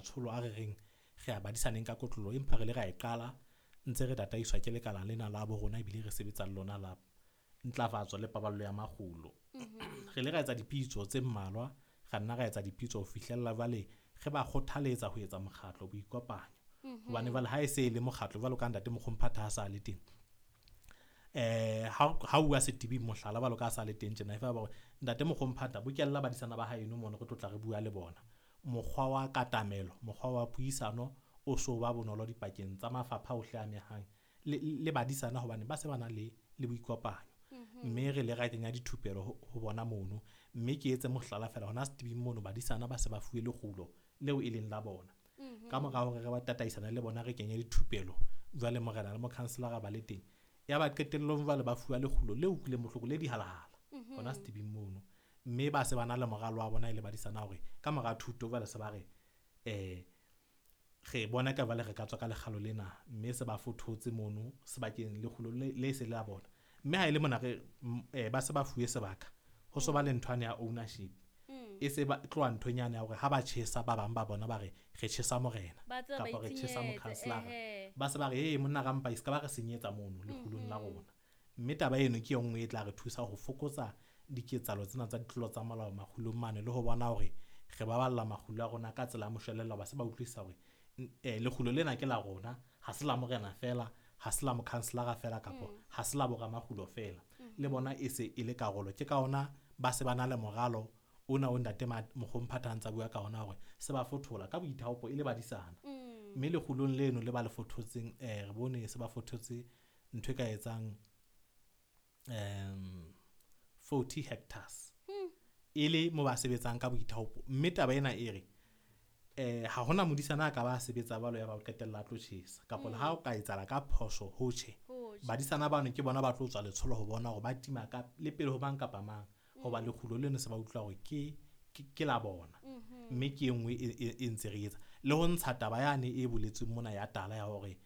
Matsholo a re reng re a badisaneng ka kotloloho, empa re ile ra e qala ntse re tataiswa ke lekala lena la bo rona ebile re sebetsa le lona la ntlafatso le paballo ya makgulo. Re ile ra etsa dipitso tse mmalwa, ra nna ra etsa dipitso ho fihlella jwale re ba kgothaletsa ho etsa mokgatlo boikopanyo. Hobane jwale ha e se e le mokgatlo jwalo ka ntate Mokgomphatha ha sa le teng, ha uwa Setibing mohlala jwalo ka ha sa le teng tjena, e fa ba hore ntate Mokgomphatha bokella badisana ba haeno mono re tlo tla re bua le bona. Mokgwa wa katamelo, mokgwa wa puisano o so ba bonolo dipakeng tsa mafapha ohle a amehang le badisana hobane ba se ba na le boikopanyo. Mme re ile ra kenya dithupelo ho bona mono, mme ke etse mohlala feela hona Setibing mono badisana ba se ba fuwe lekgulo leo e leng la bona. Ka mora hore re ba tataisana le bona re kenye dithupelo jwale morena le mokhanselara ba le teng, ya ba qetellong jwale ba fuwa lekgulo le utlwileng bohloko le dihalahala hona Setibing mono. Mme ba se ba na le moralo wa bona e le badisana hore ka mora thuto jwale se ba re re bona ka jwale re ka tswa ka lekgalo lena, mme se ba fothotse mono sebakeng lekgulo le se le la bona. Mme ha e le mona re ba se ba fuwe sebaka, ho so ba le nthwane ya ownership. E se ba tloha nthong yane ya hore ha ba tjhesa ba bang ba bona ba re re tjhesa morena kapa re tjhesa mokhanselara. Ba se ba re ee monna rampa e se ka ba re senyetsa mono lekgulong la rona. Mme taba eno ke e nngwe e tla re thusa ho fokotsa diketsahalo tsena tsa ditlolo tsa molao makgulong mane, le ho bona hore re baballa makgulo a rona ka tsela ya moshwelella, ba se ba utlwisisa hore lekgulo lena ke la rona, ha se la morena feela, ha se la mokhanselara feela kapa ha se la boramakgulo feela. Le bona e se e le karolo. Ke ka hona ba se ba na le moralo ona o ntate Mokgomphatha a ntsa bua ka ona hore se ba fothola ka boithaopo e le badisana. Mme lekgulong leno le ba le fothotseng, re bone se ba fothotse ntho e ka etsang 40 hectares. E le mo ba sebetsang ka boithaopo. Mme taba ena e re ha hona modisana a ka ba sebetsa jwalo ya ba o qetella a tlo tjhesa, kapa le ha o ka etsahala ka phoso ho tjhe, badisana bano ke bona ba tlo tswa letsholo ho bona hore ba tima ka le pele ho mang kapa mang, hoba lekgulo leno se ba utlwa hore ke la bona. Mme ke e nngwe e ntse re etsa le ho ntsha taba yane e boletsweng mona ya tala ya hore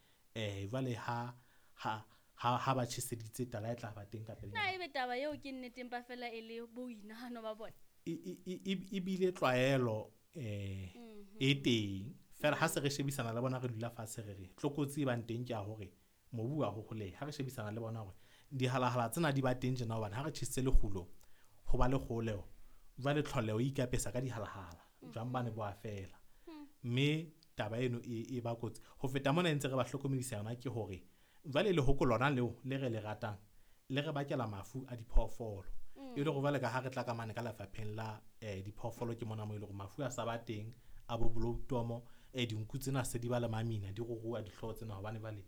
jwale ha ba tjheseditse tala e tla ba teng ka pele. Na ebe taba eo ke nnete empa fela e le boinahano ba bona? E bile tlwaelo e teng fela ha se re shebisana le bona re dula fatshe re re tlokotsi e bang teng ke ya hore mobu wa hoholeha. Ha re shebisana le bona hore dihalahala tsena di ba teng tjena hobane ha re tjhesitse lekgulo ho ba le kgoleho, jwale tlholeho e ikapesa ka dihalahala, jwang bane bo a fela. Mme taba eno e ba kotsi. Ho feta mona e ntse re ba hlokomedisa yona ke hore jwale lehoko lona leo le re le ratang le re bakela mafu a diphoofolo. E le hore jwale ka ha re tla ka mane ka lefapheng la diphoofolo ke mona mo e leng hore mafu a sa ba teng a bo bloutomo, dinku tsena se di ba le mamina di ruruha dihlooho tsena hobane jwale